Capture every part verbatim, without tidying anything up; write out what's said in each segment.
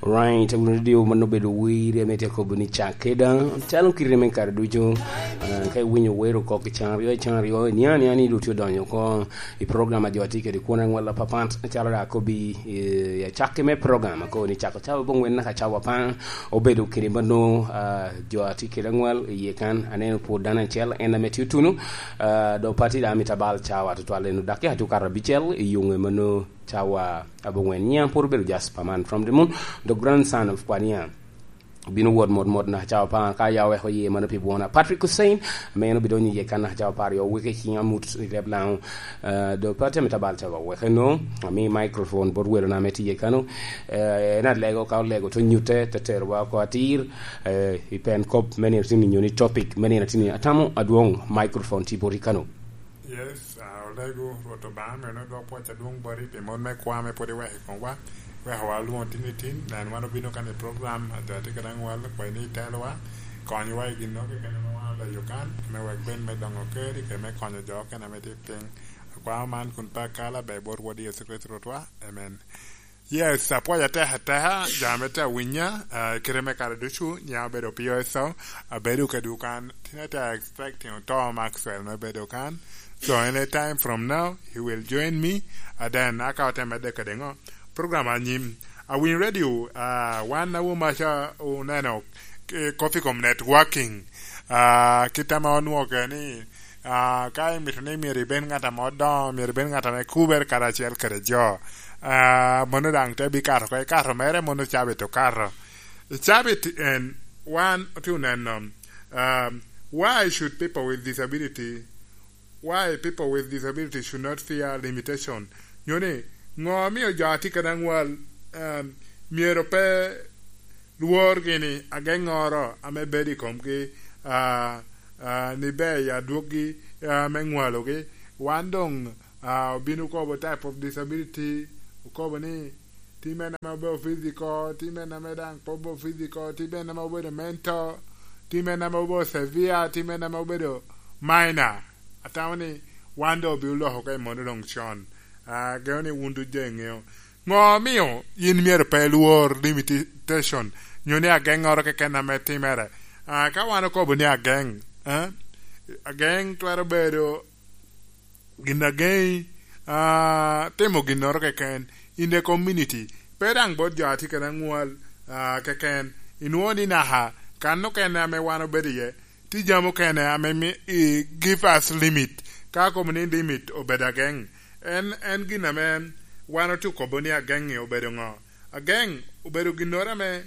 Right, radio man obedo wer ame tye kobo ni cak keda, calo kite me kare ducu. Ah, ka iwinyo wer oko ki can aryo, can aryo, iniang aniang ni dong tye odonyo oko i program a jo atye kede kwone aŋwal apapat, calo dok akobi, eh, i acakki me program, akobo ni cako cawa abongwen naka cawa apar, obedo kede mano, ah, jo atye kede aŋwal i iye kan, aneno pwod dano acel, en ame tye otunu, ah, dok pati dok amito abal cawa tutwal, eno dakika tye okato abicel i yuŋe mano cawa abongwen. Nyiŋa pwod obedo Jasper man from the moon, the grandson of Kwania. Obino wot mot mot naka cawa apar, ka ya oweko iye mano pi bwona. Patrick Hussein, ame en obidonyo iye kan naka cawa apar, yo weke ciŋ amut i leb Laŋo. Eh, do pe atemo tabal cawa weke no, ami microphone bot welona ame tye iye kano. Eh, en alego, ka olego to nyutte, te terowa oko atir, eh, i pen kop me nino tini, nyo ni topic me nino tini. Atamo adwoŋ microphone tye boti kano. Yes, ah, olego, Rwot Obaŋa meno dwok pwoc adwoŋ boti pi mon me kwa ame pwod iweko i komwa. Wek wa lwoŋo tin i tin, nen wan obino kan i program, a jo atye kede aŋwal, kwayi ni itelowa, konywa i gin nogo keken ame wan oleyo kan, me wek ben me doŋo keri, kede me konyo jo okene ame tye piny. Akwao man kun pe akalo, aber bot Rwot Yecu Kricito Rwotwa. Amen. Yes, apwoyo atek ateka, jo ame tye awinya, ah, kite me kare ducu, nyiŋa obedo P O S O, abedo kedwu kan, tin atye expecting oto Maxwell me bedo kan. So anytime from now, he will join me, and then aka ote medde kede ŋo? Program anyim. Awiny radio, ah, wan awomaca oneno, eh, kop i kom networking. Ah, kit ame onwoŋo kede ni, ah, ka imito ni myero ibed ŋat ame odoŋo, myero ibed ŋat ame kubere karacel kede jo. Ah, mano daŋ te bikato oko, ikato mere, mano cabit okato. Cabit en, wan otye oneno, um, why should people with disability, why people with disability should not fear limitation? Nyo ni, ŋo omio jo a tye kede aŋwal, um, myero pe lwor gini ageŋŋoro ame bedo i komgi, ah, ah, ni ber i adwoggi, ah, me ŋwalogi? Wan doŋ, ah, obino kobo type of disability, okobo ni, Tim en ame obedo physical, tim en ame daŋ pe obedo physical, tim en ame obedo mental, tim en ame obedo severe, tim en ame obedo minor. Atamo ni wan doŋ obino loko ka i mono doŋ con. Ah, geo ni wun ducu iŋeo. Ŋo omio yin myero pe ilwor limitation, nyo ni ageŋŋoro keken ame timere? Ah, ka wan okobo ni ageŋ, eh, ageŋ twero bedo gin ageŋi, ah, timo ginnoro keken in the community. Pe daŋ bot jo a tye kede aŋwal, ah, keken. Inwoŋo ni naka kan okene ame wan obedo iye, tye jami okene ame mi-, i, give us limit. Ka akobo ni limit obedo ageŋ, en, en gin ame wan otye okobo ni ageŋ-ŋi obedo ŋo? Ageŋ obedo ginnoro ame,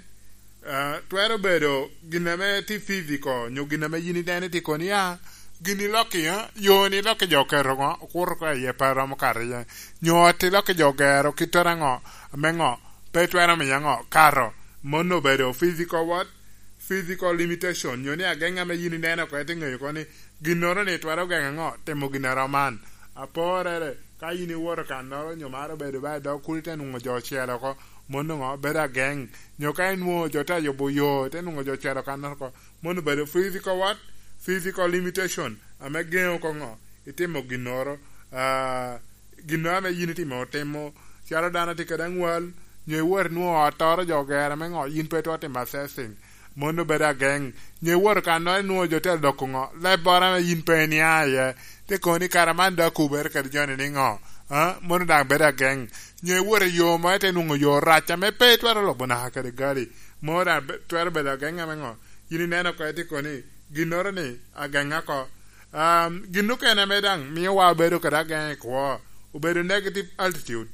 ah, twero bedo gin ame tye physical, nyo gin ame yin ineno tye koni, ah, gin ilokki, ah, yo ni ilokki jo oketo ŋo, okuto oko iye pe romo kato iye. Nyo ot ilokki jo ogero kittoro aŋo, ame ŋo, pe twero miyo ŋo, kato. Mano obedo physical what? Physical limitation, nyo ni ageŋ ame yin ineno oko, ite ŋeyo oko ni ginnoro ni twero geŋo ŋo, timo gin a rom man. Aporere, ka yin iwoto kannoro, nyo maro bedo ba i dog kulu, ite nwoŋo jo ocel oko, mano ŋo, bedo ageŋ. Nyo ka inwoŋo jo te yubo yo, ite nwoŋo jo ocel oko kannoro oko, mano bedo physical what? Physical limitation, ame geŋo oko ŋo, itimo ginnoro, ah, ginnoro ame yin itimo otimo, calo dano tye kede aŋwal, nyo iwot inwoŋo ottoro jo ogero me ŋo, yin pe itwero timo assessing. Mano bedo ageŋ. Nyo iwoto kannoro inwoŋo jo tye adoko ŋo, lebboro ame yin pe inia iye. Te kono ni kara man dok okubere kede joni ni ŋo? Ah, mano daŋ bedo ageŋ. Nyo iwoto i yo mo ite nwoŋo yo rac ame pe itwero lubo naka kede gali. Mano daŋ be-, twero bedo ageŋ ame ŋo? Yin ineno oko ite kono ni ginnoro ni ageŋ oko. Um, gin okene ame daŋ mio wa obedo kede ageŋ i kwo, obedo negative altitude.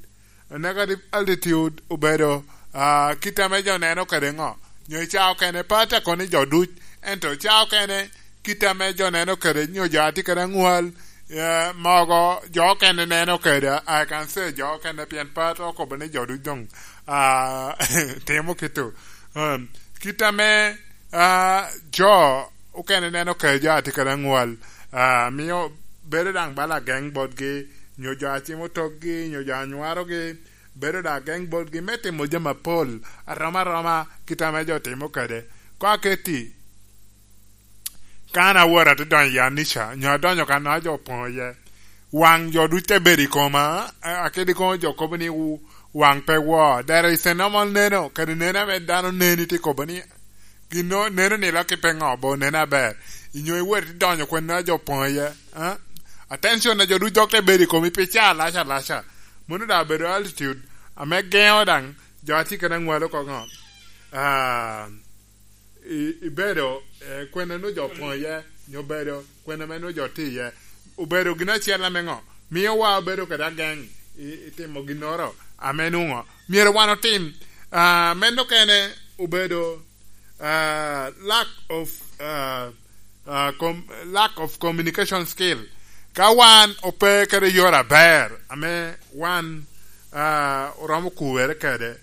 Negative altitude obedo, ah, kit ame jo neno kede ŋo? Nyo i ca okene, pe atye kono ni jo duc, ento ca okene kit ame jo neno kede, nyo jo a tye kede aŋwal, eh, mogo jo okene neno kede, I can say jo okene, pien pe atwero kobo ni jo duc doŋ, ah, timo kito. Um, kit ame, ah, jo okene neno kede jo a tye kede aŋwal, ah, mio bedo daŋ bala ageŋ botgi, nyo jo a cimo tokgi, nyo jo a nywarogi, bedo daŋ ageŋ botgi me timo jami apol, arom aroma kit ame jo timo kede. Koŋ aketti, ka an awoto ate donyo i anica, nyo adonyo ka naka jo opoŋo iye, waŋ jo duc te bedo i koma, a-, akedi koŋo jo kobo ni wu-, Waŋ pe wo, there is a normal neno, kadi neno ame dano neni tye kobo ni, gin no, neno ni lok i pe ŋo, bo neno aber. Inyo iwot idonyo kwena jo poŋ iye, eh? Attention na jo duc dok te bedo i komi pi ca alaca alaca. Mano daŋ obedo attitude ame geŋo daŋ jo a tye kede aŋwal oko ŋo. Ah, i-, ibedo, eh, kwena nwo jo poŋ iye, nyo bedo kwena me nwo jo tye iye. Obedo gin acel ame ŋo? Mio wa obedo kede ageŋ i, i timo ginnoro ame nwoŋo myero wan otim. Ah, meno kene obedo, ah, lack of, ah, ah, com-, lack of communication skill. Ka wan ope kede yore aber ame wan, ah, oromo kuwere kede,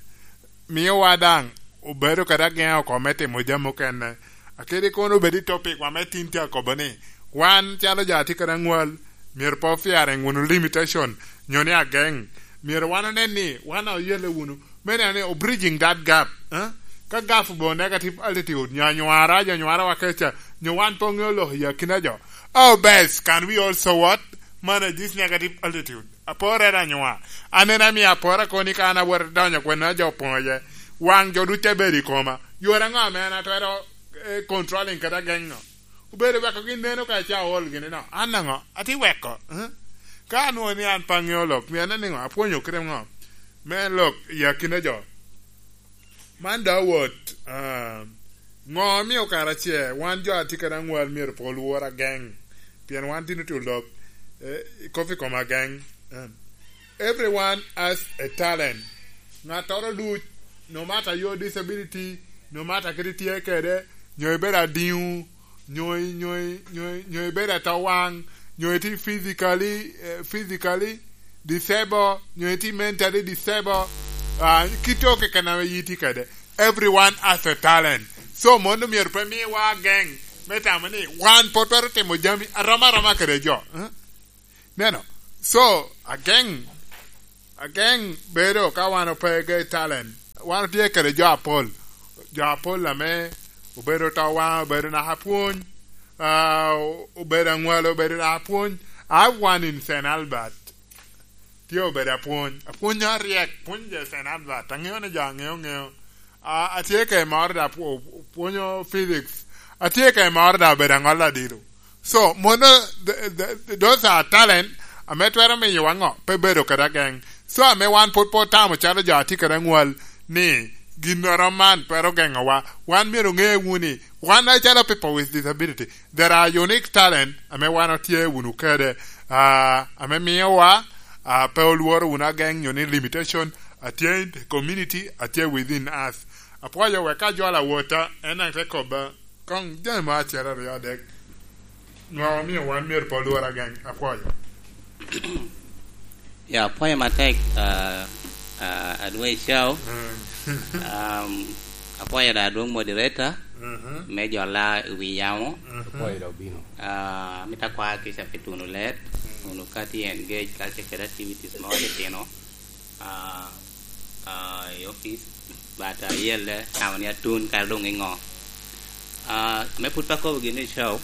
mio wa daŋ obedo kede ageŋo oko me timo jami okene. Akedi kono obed i topic wa me tin tye akobo ni, wan calo jo a tye kede aŋwal, myero pe ofiaring wunu limitation, nyo ni ageŋ. Myero wan onen ni wan oyelle wunu. Me neno ni o bridging that gap, eh? Ka gap obedo negative attitude, nyo anywara, jo anywara wa keca, nyo wan pe oŋeo lok i akina jo. Oh, bes, can we also what? Manage this negative attitude. Aporre anywa. An en amio apora koni ka an awot donyo kwena jo poŋ iye. Waŋ jo duc te bedo i koma. Yore aŋo ame an atwero, eh, controlling kede ageŋo? Obedo weko gin neno ka ca ool gini no. An aŋo? Ati weko, eh? Ka anwoŋo ni an pe aŋeo lok, mio aneno ni ŋo? Apwonyo kite ŋo? Me lok i akina jo. Man daŋ owot, ah, ŋo omio kara ce wan jo a tye kede aŋwal myero pe olwor ageŋ? Pien wan tin otye olok, eh, i kop i kom ageŋ. Eh. Everyone has a talent. Ŋattoro duc, no matter your disability, no matter kit itye kede, nyo ibedo adiŋo, nyo i-, nyo i-, nyo i-, nyo ibedo atowaŋ, nyo itye physically, eh, physically disabled, nyo itye mentally disabled, ah, kit to keken ame yiti kede. Everyone has a talent. So, mon omyero pe miwa ageŋ me tamo ni wan pe twero timo jami arom aroma kede jo. Eh? Neno? So, ageŋ, ageŋ bedo ka wan ope ge talent. Wan otye kede jo apol. Jo apol ame obedo to waŋ, obedo naka pwony, ah, obedo aŋwalo, obedo naka pwony. I have one in Saint Albert. Tye obedo apwony. Apwony aryek, pwony je Saint Albert. Aŋeo ni jo aŋeo, ŋeo. A, atye ka i moro da pwo-, pwonyo physics. Atye ka i moro da obedo aŋola adilo. So, mono, the, the, those are talent ame twero miyo wa ŋo? Pe bedo kede ageŋ. So, ame wan pwod pe otamo calo jo a tye kede aŋwal ni ginnoro man twero geŋowa. Wan myero oŋe wunu ni wan acalo people with disability, there are unique talent ame wan otye wunu kede, ah, ame miyo wa, ah, pe olworo wunu ageŋ nyo ni limitation atye in the community, atye within us. Apwoyo wek ka jolo awota, en daŋ te kobba. Koŋ jami mo acel aryo adek. Nwaŋ omio wan myero pe olwor ageŋ. Apwoyo. Ya, apwoyo matek, ah, ah, Adwei Chao. Mm. Um, apwoyo da adwong moderator, mhm, me jola i wi yamo. Mhm. Apwoyo da obino. Ah, amito akwa kica pi tuno let, mm, wunu ka tye engage kacel kede activities mo litino. Ah, ah, i office, but, ah, ayelle, tamo ni atun kara doŋ i ŋo. Ah, me put pe akobo gin i show,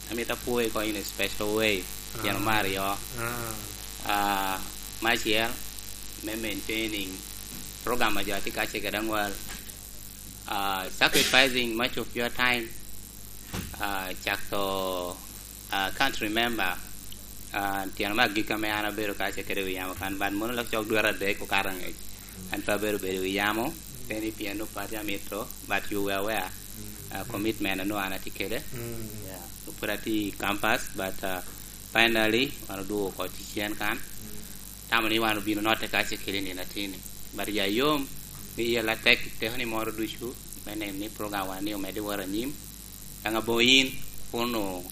amito apwoyi ko in a special way, pien, ah, omaro yo. Ah. Ah, me acel, me maintaining program a jo a tye ka cegere aŋwal. Ah, sacrificing much of your time, ah, cak to, ah, can't remember, ah, tyen me agikki ame an abedo ka ce kede wi yamo kan, but mono lok cok dwete adek okato angec. An pe abedo bedo wi yamo, pe ni pien onwoŋo pati amito, but you were aware, ah, commitment a nwoŋo an atye kede. Mm. Yeah. Pwod atye i campus, but, ah, finally, wan odwogo oko ticen kan. Mm. Tamo ni wan obino notte ka ce kede nino atini. But ya yom, ni yel atek i teko ni moro ducu, me neno ni program wan ni omedde wot anyim. Daŋ aboŋo in, kun o-,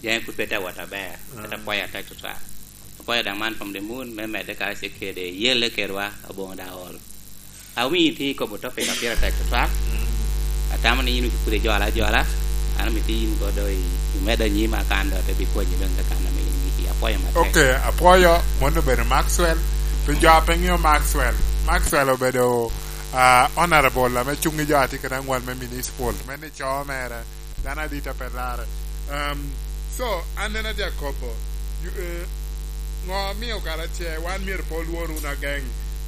jami pud pe te wot aber, pe te, ah, pwoyo atek tutwal. Apwoyo daŋ man from the moon, me medde ka ce kede yelle kedwa, aboŋo daŋ ol. Awinyo itye ikobo topic a pire tek tutwal. Mm. Atamo ni in pud ijola ajola. An amito in kodo i, i medo anyim akan do te bikonyi doŋ kakan ame in igiki. Apwoyo matek. Ok, apwoyo, mon obedo Maxwell. Pi jo a pe ŋeo Maxwell. Maxwell obedo, ah, honorable ame cuŋ i jo a tye kede aŋwal me municipal. Me ni co mere. Dano adit a pe larre. Um, so, an en atye akobo, you, eh, ŋo omio kara ce wan myero pe olwor wunu ageŋ?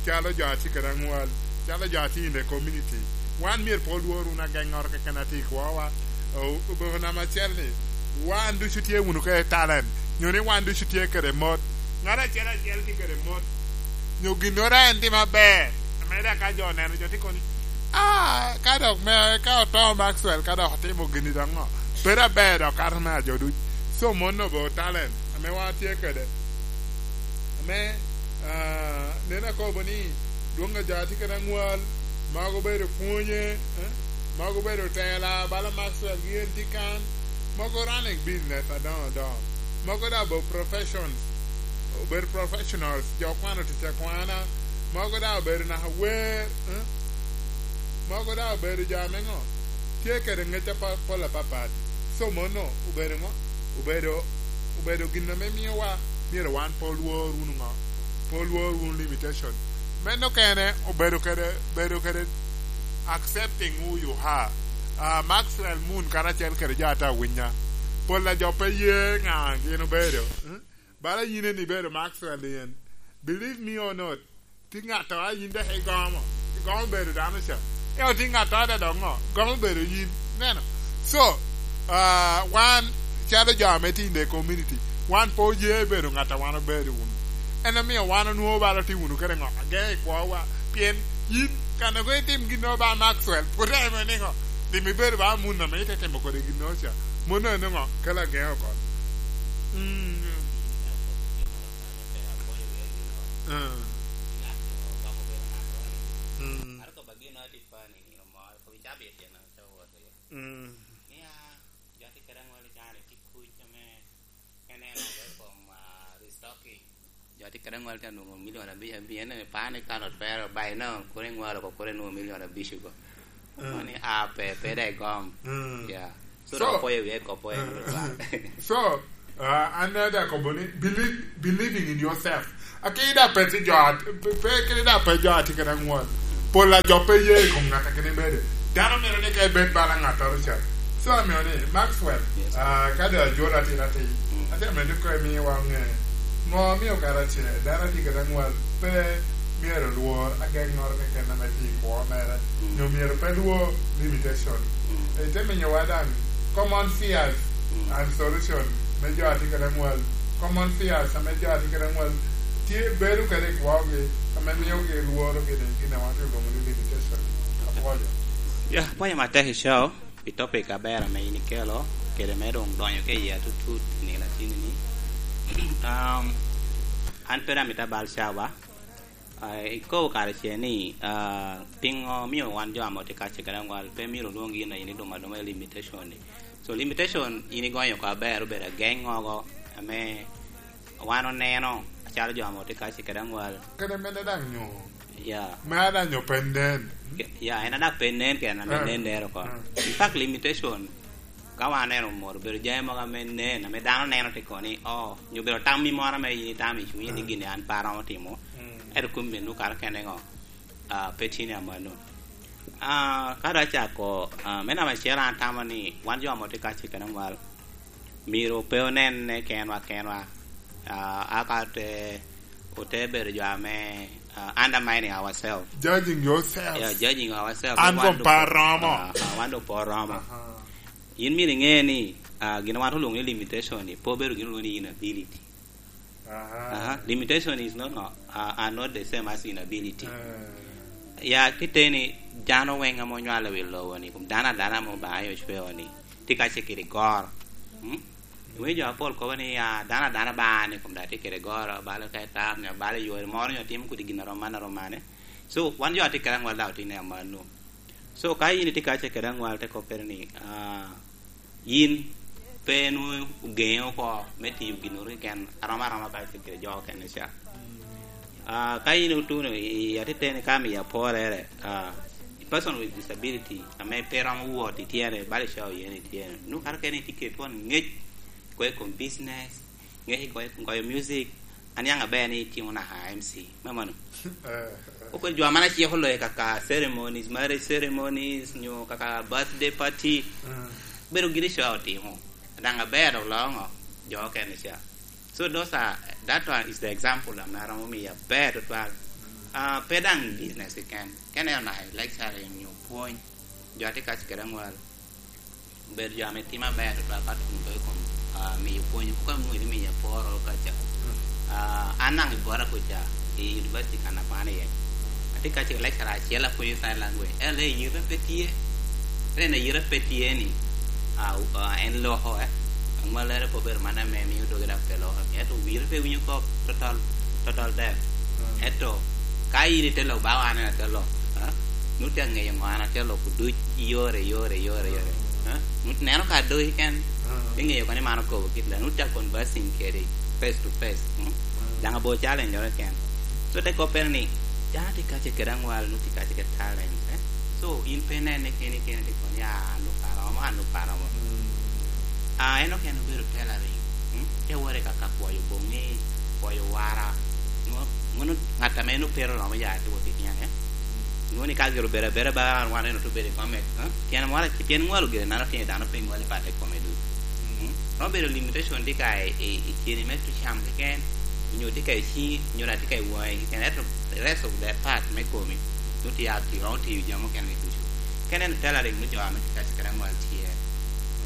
Calo jo a tye kede aŋwal, calo jo a tye in the community, wan myero pe olwor wunu ageŋŋoro keken a tye i kwowa. O-, obedo namba acel ni, wan ducu tye wunu kede talent, nyo ni wan ducu tye kede mot. Ŋat acel acel tye kede mot, nyo ginnoro en timo aber, ame daŋ ka jo oneno, jo tye kono ni, "Ah, ka dok me, ka oto Maxwell, ka dok otimo gini dok ŋo? Bedo aber dok kato me ajo duc." So, mano obedo talent ame wan tye kede. Ame, ah, nen akobo ni, dwoŋ a jo a tye kede aŋwal, mogo obedo pwonye, eh, mogo obedo tela, bala Maxwell gin tye kan, mogo running business adoŋo adoŋo, mogo daŋ obedo professions, obedo professionals, jo kwano tic akwana, mogo daŋ obedo naka wer, eh, mogo daŋ obedo jo ame ŋo, tye kede ŋec apa-, pol apapat. So, mono obedo ŋo? Obedo, obedo gin ame miowa myero wan pe olwor wunu ŋo? Pe olwor wunu limitation. Meno kene obedo kede, bedo kede accepting who you are. Ah, Maxwell Moon karacel kede jo ata winya. Pol a jo pe ye ŋa gin obedo. Hmm? Bala yin en ibedo Maxwell yen. Believe me or not, tye ŋat a yin dok igomo, igomo bedo dano ca. Ento tye ŋat a dok ŋo? Gomo bedo yin. Neno? So, ah, wan, calo jo ame tye in the community, wan pe oye bedo ŋat a wan obedo wunu. En omio wan onwoŋo bala tye wunu kede ŋo? Ageŋo i kwowa. Pien yin, kan a kono itim ginnoro ba Maxwell, pwod en ni ŋo? Lim ibedo ba mun ame ite timo kode ginnoro ca. Mano en ŋo? Kelo ageŋo oko. Mm. Ah. Mm. Mm. Nia, jo tye kede aŋwal i can tye kuc ame en en oko i kom, ah, restocking. Jo tye kede aŋwal tye anwoŋo milion abic, abic, en epar ni ka lot pere, by now, kore iŋwalo oko, kore inwoŋo milion abic oko. Mm. Mani a pe, pe dek gom. Mm. Yeah. So, so, dok opoyo wiye kop en, mm, so, ah, an daŋ akobo ni, believe, believing in yourself. Ake i daŋ pe tye jo a-, pe, pe, kede daŋ pe jo a tye kede aŋwal. Pol a jo pe ye i kom ŋat a kene bede. Dano mito ni ka ibed bala ŋattoro ca. So, amio ni, Maxwell, yes, ah, ka doŋ ajolo atin atin, mm, atye amito kono imiwa ŋe. Ŋo omio karacel dano a tye kede aŋwal pe myero lwor ageŋŋoro keken ame tye i kwo mere, mm, nyo myero pe lwor limitation? Mm. Ite miyowa daŋ common fears, mm, and solution me jo a tye kede aŋwal. Common fears ame jo a tye kede aŋwal tye bedo kede i kwogi, ame miogi lworo gin, gin a wan tye olwoŋo ni limitation. Apwoyo. Ya, apwoyo matek i show pi topic aber ame in ikelo, kede me doŋ donyo ke iye atutut i nino atini-ni. Um, an pe daŋ amito abal cawa. Ah, ikobo karacel ni, ah, piŋo omio wan jo ame otye ka cegere aŋwal pe myero olwoŋ gin a in idumo aduma i limitation-ni? So, limitation in igonyo oko aber, obedo ageŋŋogo ame wan oneno acalo jo ame otye ka cegere aŋwal. Kede mene daŋ nyo? Ya. Mea daŋ nyo pe nen? Ke-, ya, en a daŋ pe nen kene ame, ah, nen nere oko. Ah. In fact, limitation, ka wan oneno moro, obedo jami mogo ame nen, ame dano neno tye kono ni, oh, nyo obedo tammi moro ame in itamo i cunyi ni, mm, gin an pe aromo timo, mm, ento kumeno kato kene ŋo? Ah, pe tye ni amanno. Ah, ka dok acako, ah, me namba acel an atamo ni wan jo ame otye ka cegere aŋwal, myero pe onenne kenwa kenwa. Ah, aka te, ote bedo jo ame, ah, undermining ourselves. Judging yourself. Yeah, judging ourselves. An wan doŋ pe aromo. Ah, ah, wan doŋ pe oromo. Aha. In myero iŋe ni, ah, gin a wan olwoŋo ni limitation-ni, pe obedo gin olwoŋo ni inability. Aha. Aha. Limitation is not, no, ah, are not the same as inability. Eh. Ya, kite ni dano weŋ ame onywalo i wi lobo-ni, kun dano adana ame Obaŋa ocweo-ni, tye ka cegere i goro. Hmm? Iwinyo jo apol kobo ni, ah, dano adana ba ni kun daŋ tye kede goro, balo ka i tam, nyo balo i yore moro, nyo timo kodi gin a rom man, a rom mane. So, wan jo a tye kede aŋwal daŋ otye ni amanno. So, ka in itye ka cegere aŋwal, te koppere ni, ah, yin pe nwoŋo ogeŋi oko me tiyo ginnoro keken, arom aroma ka cegere jo okene ca. Ah, ka in otuno i, i atiteni ka miyo aporere, ah, person with disability, ame pe romo wot i tyene, bala ica oye ni tyene, nwoŋo kato kene itye kede twon ŋec, kwe i kom business, ŋec i goyo, goyo music, aniaŋ aber ni itimo naka M C, me mano. Eh, eh. Okwel jo a man aciko loyo kaka ceremonies, marriage ceremonies, nyo kaka birthday party. Mm. Bedo giri ca otimo. Daŋ aber dok loo ŋo? Jo okene ca. So those are, that one is the example ame aromo miyo aber tutwal. Ah, pe daŋ business keken. Kene onaka i lecturing nyo pwony, jo atye kac kede aŋwal. Bedo jo ame timo aber tutwal ka tuno i kom, ah, miyo pwony. Koko onwoŋo ni miyo aporo kaca. Ah, an daŋ i bota kuca, i university kan akwan iye. Atye kac kede lecturer acel apwonyo sign language. En le yite pe tye. En yite pe tye ni, ah, ah, en loko, eh. Aŋwalere pe obedo man ame mio doge dok pe loko. Ento wire pe winyo kop, total, total deaf. Mm. Ento ka in ite lok, ba wan en ate lok, eh? Nut tye aŋeyo ŋo an ate lok duc i yore, yore, yore, yore. Mm. Eh? Nut neno ka dogi ken, mm, iŋeyo kono ni man okobo kit la, nut tye conversing kede face to face. Mm? Mm. Daŋ abo challenge oro ken. So, te koppere ni, dano tye kace kede aŋwal, nut tye kace kede talent, eh? So, in pe inene keni, keni tye kono ni, "Ah, an lok aromo, an lok aromo." Mm. Ah, en okene obedo tailoring. Mm? Te wore ka, ka kwoyo boŋi, kwoyo wara. Nwo-, mono ŋat ame en opero romo ya tye wot i tyen, eh? Nwoŋo ni ka gire obedo abeda ba, wan en otubedo i kome, eh? Tyen wara, tyen ŋwalo gire, nano tyen dano pe ŋwalo i patte kome ducu. Mm? Romo bedo limitation tye ka i, i, i tyeni me tucam keken, nyo tye ka i ciŋi, nyo daŋ tye ka i waŋi keken. Ento the rest of the part me komi, nut tye a-, tye romo tiyo jami mukene ducu. Kene en tailoring me jo ame tye ka cikere aŋwal tye.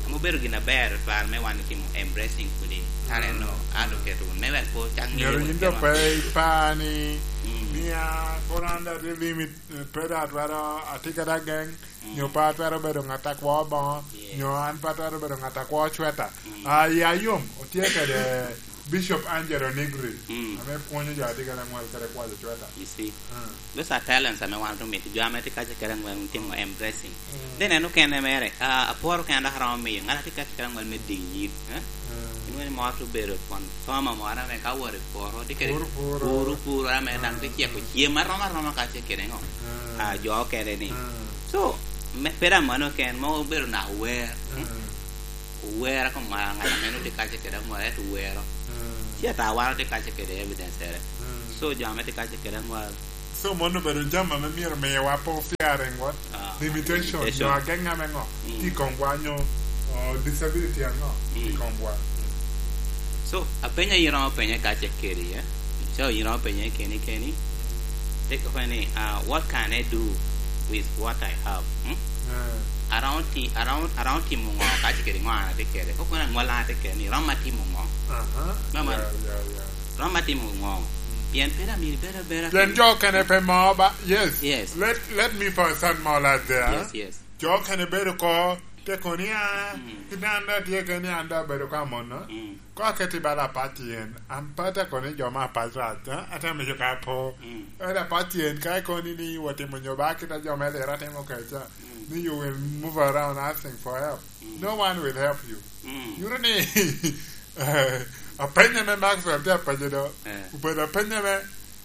Ame obedo gin aber twal me wan itimo embracing kodi. Talent no, mm, advocate wun. Me wek po cak ŋeyo myero wun yin dok pe ipa ni, mm, mia kono an dok atye limit, eh, pe dok atwero, atye kede ageng, mm, nyo pe atwero bedo ŋat a kwo boŋo, yes, nyo an pe atwero bedo ŋat a kwo cweta. Mm. Ah, ya yom, otye kede Bishop Angelo Negri, mm, ame pwonyo jo a tye kede aŋwal kede kwayo cweta. You see? Mm. Those are talents ame wan omito jo ame tye kace kede aŋwal timo embracing. Mm. Then en okene mere, ah, apworo kene dok aromo miyo ŋat a tye kace kede aŋwal me diyo yit, eh? Mm. Inwoŋo ni moro tye obedo kwon farmer moro ame ka wot i poto, tye kede puro, puro, puro, puro ame daŋ tye, mm, ceko cem arom aroma kace kede ŋo? Mm. Ah, jo okene ni. Mm. So, me, pe daŋ mano ken, mogo obedo naka wer. Mm. Mm. Owero kom ŋa-, ŋat ame nwoŋo tye kace kede aŋwal, ento owero. Mm. Ci ata wan otye kace kede evidence ere. Mm. So, jo ame tye kace kede aŋwal. So, mano obedo jami ame myero miwa po fearing what? Ah, limitation. Limitation. Nyo ageng ame ŋo? Mm. Tye i komwa nyo, oh, disability aŋo? Mm. Tye i komwa. Mm. So, apenya yin romo penye kace kede, eh? So, yin romo penye keni keni. Te kope ni, ah, "What can I do with what I have?" Hmm? Eh. Aromo ti-, aromo, aromo timo ŋo ka tye kede ŋo an atye kede? Kok kono aŋwal an atye kede ni, romo atimo ŋo? Aha. Mama, yeah, yeah, yeah. Romo atimo ŋo? Mm. Pien pe amito bedo abeda pien kede jo okene pe mo ba. Yes. Yes. Let, let me put some more light there. Yes, yes. Jo okene bedo ko te kono ni, "Ah, mm, kit an da tye kene ni an da abedo ka mono." Mm. Ko aketi bala apac tyen, an pe atye kono ni jo me apac rac, eh? Atye amico ka apo. Mm. Ento apac tyen, ka ikono ni, ni watimo nyo ba kit a jo me Lira timo keca, mm, ni you will move around asking for help. Mm. No one will help you. Mm. Yuto ni, eh, apenye me Maxwell tye apenye do. Eh. Obedo apenye me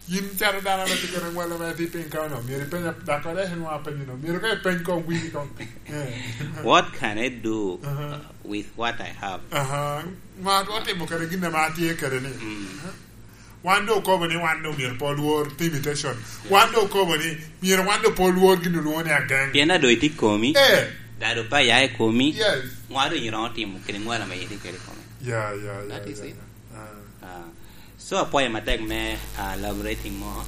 Yin calo dano ame tye kede ŋwalo ame tye piny ka onongo myero ipeny, dak kore en nwoŋo apenyo no. Myero ka ipeny koŋ wini koŋ. Eh. What can I do, uh-huh, uh, with what I have? Aha. Ŋo atimo kede gin ame atye kede ni? Mm. Wan doŋ okobo ni wan doŋ myero pe olwor limitation. Yeah. Wan doŋ okobo ni myero wan doŋ pe olwor gin olwoŋo ni ageng. Pien a doŋ itye i komi. Eh. Dado pa ya i komi. Yes. Ŋo a doŋ iromo timo kede ŋwalo ame itye kede i komi? Yeah, yeah, yeah, that is it. Ah. Ah. So, apwoyo matek me, ah, elaborating more.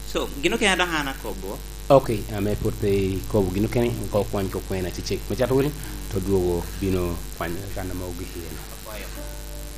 So, gin okene dok an akobo. Ok, ame pwod pe ikobo gin okene, ka okwany ko kwena cecek me cato wili, to dwogo bino kwanyo kan ame ogik iye no. Apwoyo.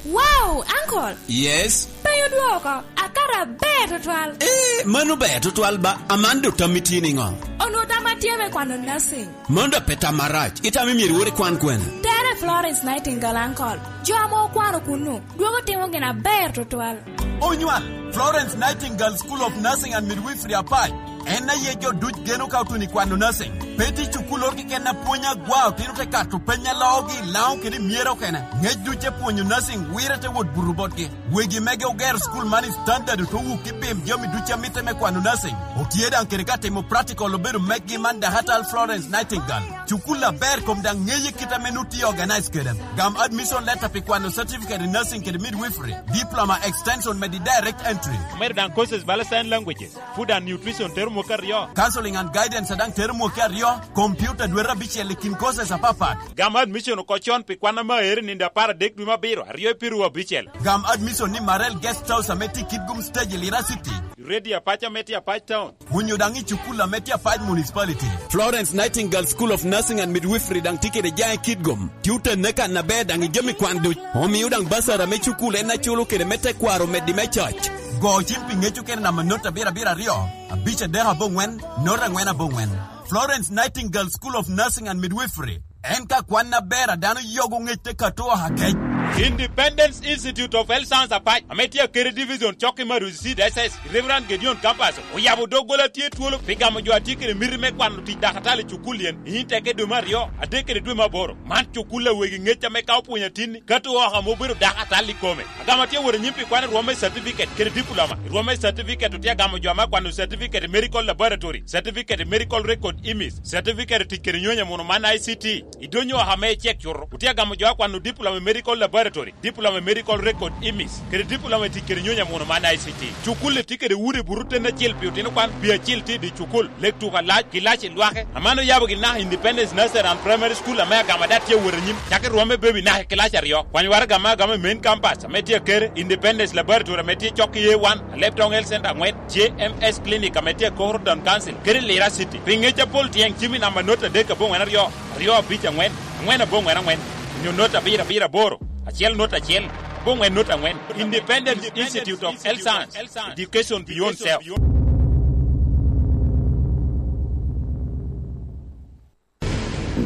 Wow, uncle! Yes? Penyo dwoko, akato aber tutwal. Eh, mano ber tutwal ba, Amando tammi tye niŋo? Onwoŋo tamma tye me kwano nursing. Mano dok pe tam marac. Itamo myero iwot ikwan kwene? Tere Florence Nightingale, uncle. Jo ame okwano kunnu, dwogo timo gin aber tutwal. Onywal, Florence Nightingale School of Nursing and Midwifery Apac. En aye jo duc geno ka otuno i kwano nursing. Pe tye cukulloro keken a pwony agwa, otino te kato peny a loogi i Laŋo kede i Myere okene. Ngec duc te pwonyo nursing, wire te wot buto botgi. Wegi mege ogero cukul man i standard, ote wuk i pim jami ducu a mitte me kwano nursing. Otye daŋ kede ka timo practical, obedo meggi man Dakatal Florence Nightingale. Cukul aber kom daŋ ŋeye kit ame nut tye organize kede. Gam admission letter pi kwano certificate in nursing kede midwifery, diploma extension medi direct entry. Omedo daŋ courses bala sign languages, food and nutrition tero mwaka aryo. Counseling and guidance daŋ tero mwaka aryo. Computer dwete abicel i kin courses apapat. Gam admission oko con pi kwan ame aero i nino apar adek dwe me abiro, aryo i piru abicel. Gam admission ni Marel Guest House ame tye i Kitgum Stage i Lira City. Radio Apac ame tye Apac Town. Onyo daŋ i cukul ame tye Apac Municipality. Florence Nightingale School of Nursing and Midwifery daŋ tye kede jaŋ i Kitgum. Tye otenne kan aber daŋ i jami kwan duc. Omio daŋ basar ame cukul en aculo kede me tekwaro omeddi me coc. Go cim pi ŋec okene namba not abiro abiro aryo, abic adek aboŋwen, not aŋwen aboŋwen. Florence Nightingale School of Nursing and Midwifery. En ka kwan aber a dano yogo ŋec te kato oha kec. Independence Institute of Health Science Apac, ame tye Akere Division, cok i Maruzi Seed S S, Reverend Gideon Campus, oyabo doggola tye twolo pi gamo jo a tye kede miti me kwano tic dakatali i cukul yen, i Inteke dwe me aryo, adek kede dwe me aboro. Man cukul a wegi ŋec ame ka opwonyo atinni, kato oka ame obedo dakatali i kome. Agamo atye wot anyim pi kwano rwom me certificate kede diploma. Rwom me certificate otye agamo jo ame akwano certificate i medical laboratory, certificate i medical record image, certificate i tic kede nyonyo amuno man I C T. I donyo oka me icek cuto, otye agamo jo akwano diploma i medical laboratory, diploma i medical record image, kede diploma i tic kede nyonyo amuno man I C T. Cukul-li tye kede udi buto ten acel pi otino kwan, pi acel tye i dye cukul, lek tuko alac, kilaci lwake. Aman oyabo gin naka Independence Nursery and Primary School ame agamo ada tye awot anyim, cakki rwom me baby naka i kilaci aryo. Kwany waraga ame agamo i main campus ame tye Akere, Independence Laboratory ame tye cok i A one, Alebtong Health Center aŋwen, J M S Clinic ame tye i Koro Town Council, kede Lira City. Pi ŋec apol tyeng cim i namba not adek aboŋwen aryo, aryo abic aŋwen, aŋwen aboŋwen aŋwen, onyo not abiro abiro aboro, acel not acel, aboŋwen not aŋwen. Independent Institute of Health Science, Education Beyond Self.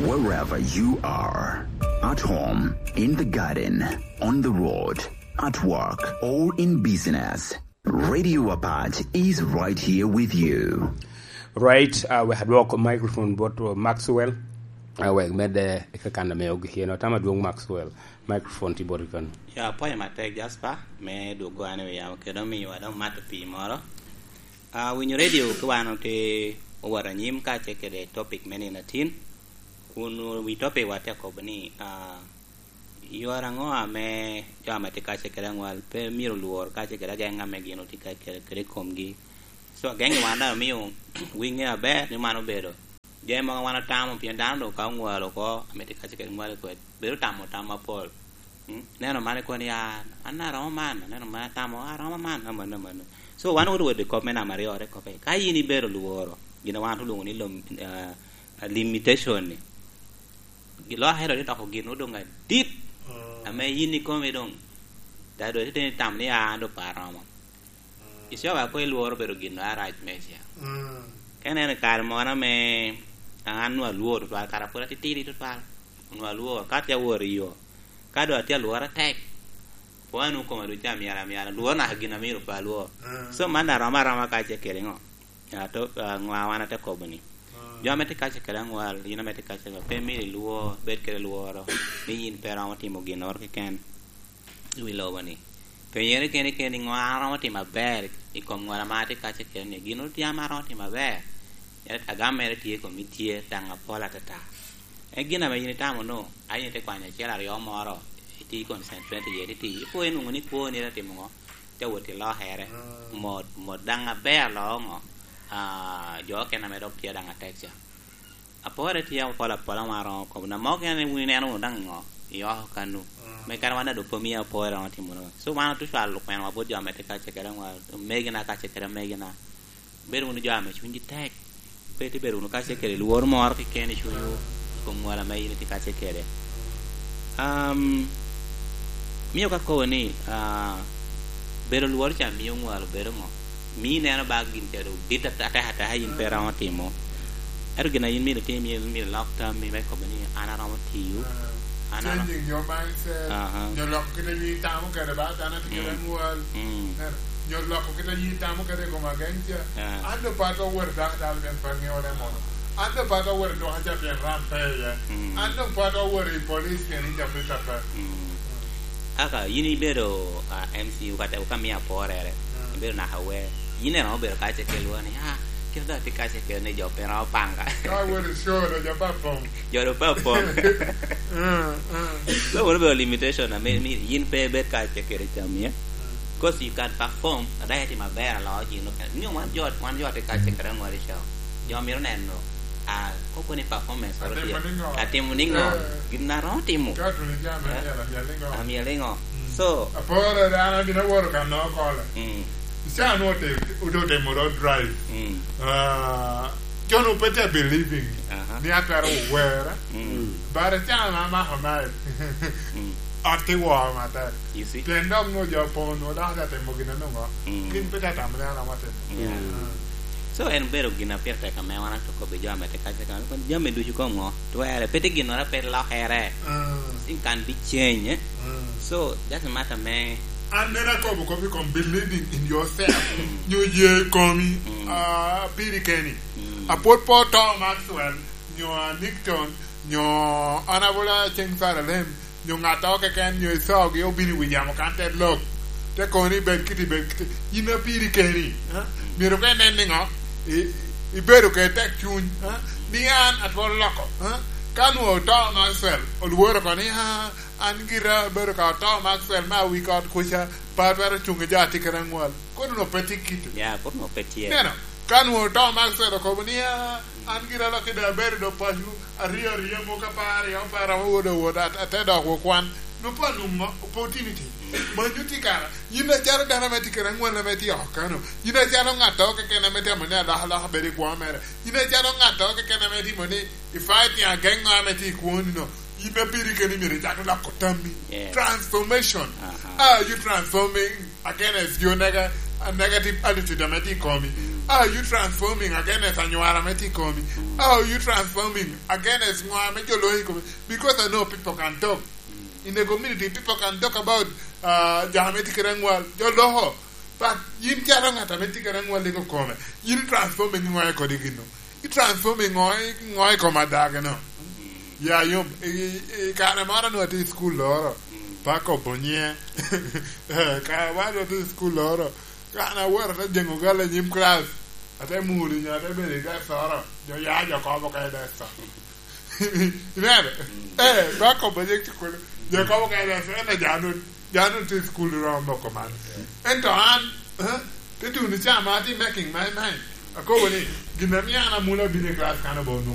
Wherever you are, at home, in the garden, on the road, at work, or in business, Radio Apac is right here with you. Right, uh, we had walk microphone bot, uh, Maxwell. Uh, we med, uh, kakan me ogi hino. Tama duong Maxwell. Microphone ti bot kan. Ya, apwoyo matek, Jasper, me dwogo an i wi yamo kede omiwa dong mato pii moro. Ah, winyo radio ki wan otye owot anyim kacel kede topic me nino atin. Kun wi topic wa tye akobo ni, ah, yore aŋo ame jo ame tye kacel kede aŋwal pe myero lwor kacel kede ageŋ ame gin otye kacel kede i komgi. So, ageŋ i wan daŋ omio winge aber ni man obedo jami mogo wan atamo, pien dano doŋ ka oŋwalo oko, ame tye kacel kede ŋwal i kwed, bedo tamo tam apol. Mm, neno man ikobo ni, "Ah, an aromo man," neno man atamo, "Ah, aromo man, amanno, amanno." So, wan owoto wot i kop me namba aryo, te kobbe, ka in ibedo lworo, gin a wan olwoŋo ni lom-, ah, limitation-ni, gi-, lokere te doko gin odong adit, mm, ame in ikome doŋ, ta doŋ itye ni tam ni, "Ah, an doŋ pe aromo." Icaa wa ko ilworo bedo gin a rac meicel. Mm. Ka ineno i kare moro ame an onwoŋo alwor tutwal, kara pwod atitidi tutwal, onwoŋo alwor, ka atye awot i yo, ka doŋ atye alwor atek, pwod anwoŋo koma ducu amyero amyera, lworo naka gin a myero pe alwor. Mm. So, man daŋ rom aroma kacel kede ŋo? Ato, ah, ŋo a wan ate kobo ni? Mm. Jo ame tye kacel kede aŋwal, in ame tye kacel kede, pe myero ilwor, bed kede lworo, ni in pe iromo timo ginnoro keken i wi lobo-ni. Penyere keni keni, "Ŋo an aromo timo aber i kom ŋwal ame atye kacel kede-ni? Gin otye ame aromo timo aber?" Yat agam mere tye i komi, tye daŋ apol atata. En gin ame in itamo no, a in ite kwanyo acel aryo moro, iti concentrate iye, titi, ipo inwoŋo ni kwoni ite timo ŋo? Te wot ilokere, mm, mot, mot daŋ aber aloo ŋo? Ah, jo okene ame dok tye daŋ atek ca. Apore tye apol apola ma aromo kobo. Na mogo en wun ineno wunu daŋ ŋo i oko kanu. Mm. Me kare wan daŋ dok pe omio apore romo timo no. So, wan otucwalo kwena wa bot jo ame tye kacel kede aŋwal, omegina kacel kede omegina. Bedo wunu jo ame cwinygi tek. Pe tye bedo wunu kacel kede lworo moro keken i cunywu i kom ŋwal ame in itye kacel kede. Um, mio ka kobo ni, ah, bedo lworo ca mio ŋwal obedo ŋo? Mio ineno ba gin ca doŋ dit ate-, atek ateka in pe iromo timo. Ento gin a in myero itim, myero, myero ilok tammi me kobo ni, "An aromo tiyo. An aromo." Changing your mindset. Aha. Nyo loko kit a in itamo kede ba dano atye kede, mm, aŋwal. Mm. Nyo loko kit a in itamo kede i kom ageŋ ca. Ah. An doŋ pe atwero wot i daktal pien pe aŋeo ne mono. An doŋ pe atwero wot i duka ca pien ram pe iye. Mm. An doŋ pe atwero wot i police pien ija pe tape. Mm. Aka in ibedo, ah, M C U kata ka miyo aporere, mm, ibedo naka aware. In iromo bedo kacel kede lworo ni, "Ah, kit doŋ atye kacel kede ni jo pe romo panga." Ka awot i show, doŋ jo pe apong. Jo doŋ pe apong. Mm, mm. So, wono bedo limitation, I mean, mi in pe ibed kacel kede cam, yeah? Mm. 'Cause you can perform, adaya tye maber aloo gin okene. Nyo wan jo, wan jo tye kacel kede aŋwal i show. Jo myero neno. A, koko ni performance oro Atimo tye. Niŋo? Atimo niŋo? Eh. Gin a romo timo. Ka otuni jami Eh? Amyel, amyel niŋo? Amyel niŋo? Mm. So, Apore, dano abino woro ka noo kole. Mm. Ica nwo te-, odo temo road drive. Mm. Ah, jo nu pe te believing Aha. ni atwero wera. Mm. But ica na mako night. Mm. Ot ti woo matek. You see? Pien dok nwo jo poŋ nwo dok atemo gin anongo. Mm. Gin pe te tamo ni an amo atimo. Yeah. Mm. So, en obedo gin a pire tek ame wan atye kobbi jo ame tye kaca kan, jami ducu kom ŋo? Twerre, pe tye ginnoro a pe lokere. Mm. Thing can be change, eh? Mm. So, just a matter me An neno akobo kop i kom believing in yourself, Mm. nyo ye i komi, Mm. ah, piri keni. Mm. Apwod po to Maxwell, nyo a Nixon, nyo Honorable Aceng Saralem, nyo ŋattoro keken, nyo icogi obino i wi yamo kan te lok, te kono ni, "Bed kiti, bed kiti." Yin a piri keni, eh? Myero ka inen niŋo? I-, ibedo kede tek cuny, eh? Ni an atwero loko, eh? Ka nwo oto Maxwell, olworo oko ni, "Ah, an gira abedo ka oto Maxwell me awi ot kuca, pe atwero cuŋ i jo a tye kede aŋwal." Kono nwo pe tye kito. Ya, kono nwo pe tye. Neno, ka nwo oto Maxwell okobo ni, "Ah, an gira lok i dee abedo do paco, aryo aryo muka apar aryo, apar ame wot owot, at-, ate dok wot kwan." Nwo pe anwoŋo opportunity. Manyo tye kara. Yin acalo dano ame tye kede aŋwal ame tye oko kano. Yin acalo ŋattoro keken ame tye amo ni alokaloka bedo i kwo mere. Yin acalo ŋattoro keken ame timo ni i fighting against ŋo ame tye i kwoni no. Yin a piri keni myero icak loko tammi. Yes. Transformation. Aha. How are you transforming against your nega-, negative attitude ame tye i komi? Mm. How are you transforming against anywara ame tye i komi? Mm. How are you transforming against ŋo ame jo loyo i komi? Because I know people can talk. Mm. In the community, people can talk about, uh, jo ame tye kede aŋwal, jo loko. But yin calo ŋat ame tye kede aŋwal i kome, yin transforming ŋo i kodi gino? I transforming ŋo i, ŋo i kom adagino? Ya yom, i, i, i kare moro nwa tye i school loro, Mm. pe akobo nyiŋe. Eh, kare moro nwa tye i school loro, ka an awot ate jeŋo gal i nyim class, ate mudo nyo ate bedo i desk oro, jo ya jo kobo ka i desk oro. Ineno? Mm. Eh, pe akobo nyiŋ cukulu, jo kobo ka i desk oro, en aja nun. Dano tye i cukul romo moko man. Ento an, eh, te tuno ca ma atye making my mind. Akobo ni, gin a mio an amula bino i class kan obo nwoŋo.